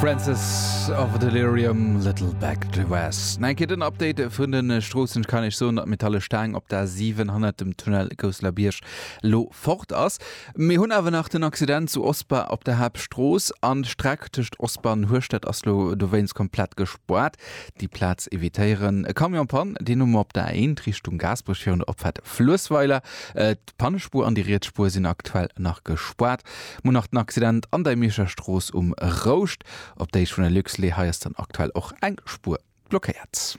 Francis of Delirium, Little Back to West. Nach eng Kéier den Update vun de Stroossen. Ech kann Iech soen, datt d'metalle Staang op der A7 hannert dem Tunnel Gousselerbierg lo fort ass. Mir hunn awer nach den Accident zu Osper op der Haaptstrooss an d'Streck tëscht Osper an Hueschtert ass lo dowéinst komplett gespoart. Déi Plaz evitéieren. E Camion Panne, deen hu mer op der A1 Richtung Gaasperech virun der Opfaart Fluessweiler. D'Pannespuer an déi riets Spuer sinn aktuell nach gespaart. Mir hunn nach den Accident an der Mierscher Strooss um Rouscht op der Héicht vun der Luxlait. Hei ass dann aktuell och eng Spuer blockéiert.